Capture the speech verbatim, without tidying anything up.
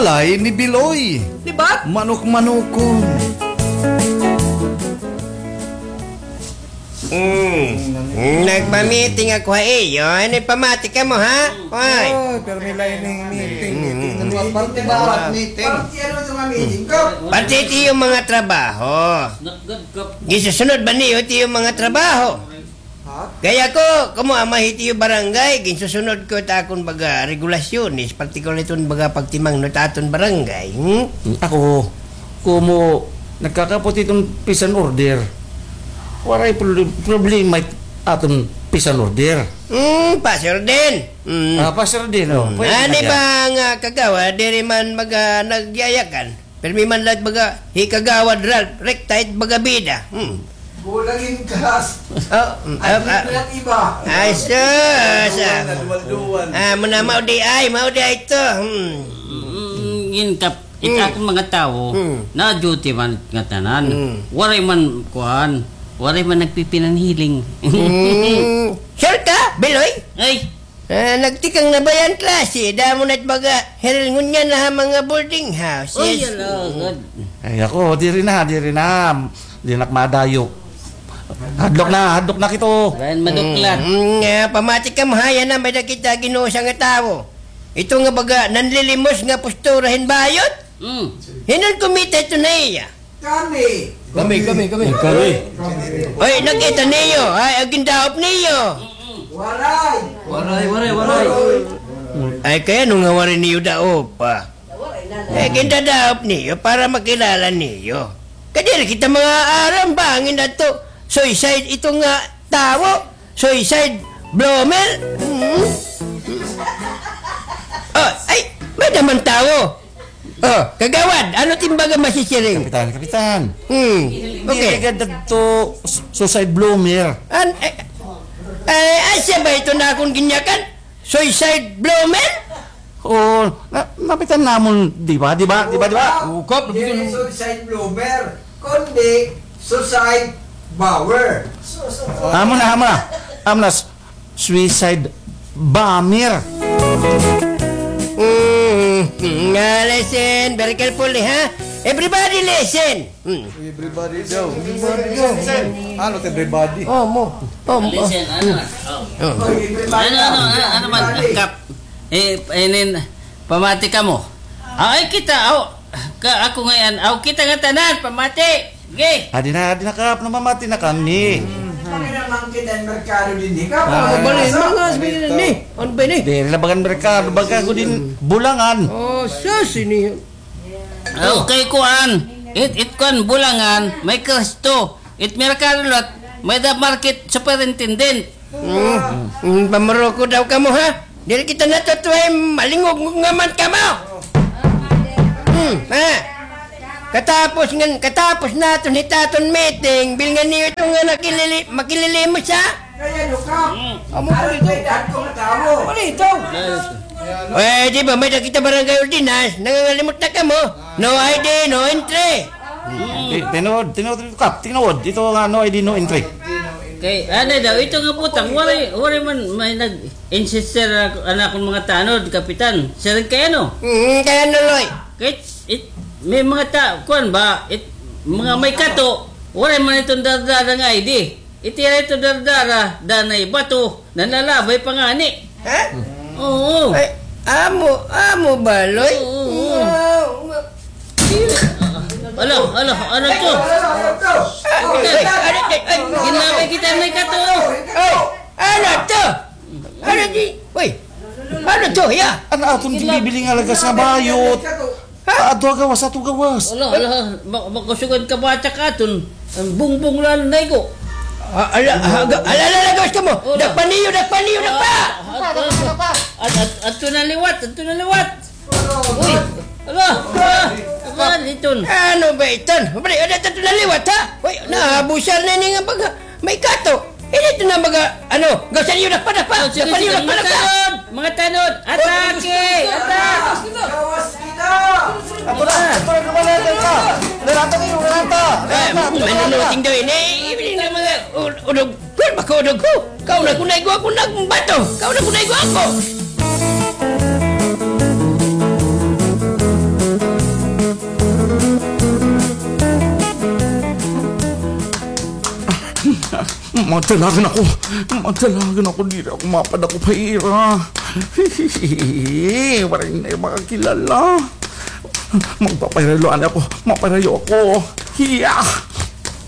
balay ni Biloy. Di ba? Manok-manokon. Mm. Nagpa-meeting ako ha iyo. Ano, pamati kamo, ha? Oy. Oy, pero may lain ning meeting, meeting. Ano, parte ba? Meeting. Parte ano ito nga meeting ko? Parte ito iyo mga trabaho. Ginsusunod ba niyo ito iyo mga trabaho? Ha? Gaya ko, kamo ama hit iyo barangay, ginsusunod ko it akon baga regulasyones, partikular iton baga pagtimangno it aton barangay, hmm? Ako, komo nagkakapot iton peace and order. Waray proble-, problema it aton peace and order. Hmm, peace and order. Hmm. Ah, peace and order, no. Hmm. Pwede na ba nga kagawad, diri man baga nagyayakan? Pirmi man la it baga, hi Kagawad Ralph, rekta it baga bida. Hmm. Kulang in kas. Oh, mm, ay, ah, ah. Ay, sus, ah. Duwal-duwal. Ah, muna, mao di ay, mao di ay ito. Hmm. Mm, yun kap, it akon mga tawo, na-duty man ngatanan. Hmm. Waray man, kuan, waray man nagpipinanhiling. Hmm. Sure ka, Biloy? Ay, Ah, nagtikang na ba yan klase? Damo na it baga, hiril ngunyan na ha mga boarding house. Oy, yes. Ala, good. Ay, ako, diri na, diri na. Di na ak madayo. Hadlok na, hadlok na kito. Bayan maduklat. Mm, mm, nga, pamati kamo ha, yana may-ada kita ginusa nga tawo. Ito nga baga, nanlilimos nga postura hin bayot. Mm. Hin-o an kumita ito na iya? Kami. Kami, kami, kami. Kami. Oy, nakita niyo? Ay, an gindaop niyo. Waray. Waray, waray, waray. Ay, kay ano nga waray niyo daopa? Ay, gindadaop niyo para makilala niyo. Kay diri kita mga aram ba, an ginadto. Suicide ito nga tawo. Suicide bloomer. Mm. Oh, ay, may-ada man tawo. Oh, kagawad, ano it im baga masisiring? Kapitan, kapitan. Hmm. Okay. Diri gad ito su-, suicide bloomer. An, eh, eh, asya ba ito nga akon ginyakan? Suicide bloomer? Oo, na-, napitan namon, di ba? Di ba? Di ba? Di ba? Oo, kap, diri suicide bloomer, kundi suicide bower. Amo na, amo na. Amo na. Suicide bomber. Mm, nga, listen very carefully, ha? Everybody listen. Mm. Everybody daw. Everybody daw. Ano it everybody? Oh, mo. Oh, mo. Listen, ano? Oh. Ano, ano, ano, ano man, Kap? Eh, inin, pamati kamo. Ay, kita, aw, ka, ako ngay-an, aw, kita ngatanan, pamati. Sige. Adi na, adi na, Kap, namamati na kami. Kami naman kita an merkado dinhi, Kap. Ah, bali, mga sabi ni. Ano ba ini? Diri la bagan merkado, baga ko din bulangan. Oh, sus, ini. Okay, kuan. It, it kuan, bulangan, may Kristo. It merkado lot, may-ada market superintendent. Mm. Mm, pamuroko daw kamo, ha? Diri kita natutuhay, malingog nga man kamo. Hmm, ha? Katapos ngan, katapos naton hit aton meeting, bilngan niyo ito nga nakilili-, makililimos, ha? Kaya, Luka, amo ko dito. Ano may dagko nga tawo? Ano ito? Eh, di ba, may-ada kita barangay ordinance, nangangalimot na kamo. No I D, no entry. Ti-, tinuod, tinuod, Kap, tinuod. Ito nga, no I D, no entry. Kay, ano daw, ito nga butang, waray, waray man may nag-insist, sir, an akon mga tanod, Kapitan. Sir, kay ano? Mm, kay ano, Loy? Kay, it, may mga ta-, kuan ba, it, mga may kato, waray man iton dardara nga I D. Itira ito dardara, danay bato, nanlalabay pa ngani. Ha? Oo. Ay, amo, amo ba, Loy? Oo, oo. Wow, ma- Ala, ala, ano to? Ay, ay, ay, ay. Ginlabay kita may kato. Ay, ano to? Ano di? Uy, ano to, ya? An aton ginbibili nga lagas nga bayot. Ha? Adto ha gawas, adto ha gawas. Ala, ala, ma-, makusog an kabatak aton. An bungbong la an naigo. Ah, ala, ala, ala, gawas kamo. Ala. Dakpa niyo, dakpa niyo, dakpa! Ah, ah, ah, ah, adto na liwat, adto na liwat. Uy, ala, ala, ala, iton. Ano ba iton? Bali, adto na liwat, ha? Uy, naabusar na ini nga baga. May kato. Ini ito na mga, ano, gawasan niyo, dakpa, dakpa. Oh, sige, sige, dakpa niyo, dakpa, mga dakpa. Tanod, mga tanod. Atake! Atak! Gawas kita! Ato na, ato na, lumalaya ka. Lalata kayo, lalata. Eh, may nunuting daw ini. Ibigay na mga u-, udog. Kun baka udog ko. Kau na kunay ko ako nagbato. Kau na kunay ko ako. Madalagan ako. Madalagan ako, diri ako mapadakop ha ira. Waray na makakilala. Magpapahirayo anay ako. Mapahirayo ako. Hiya!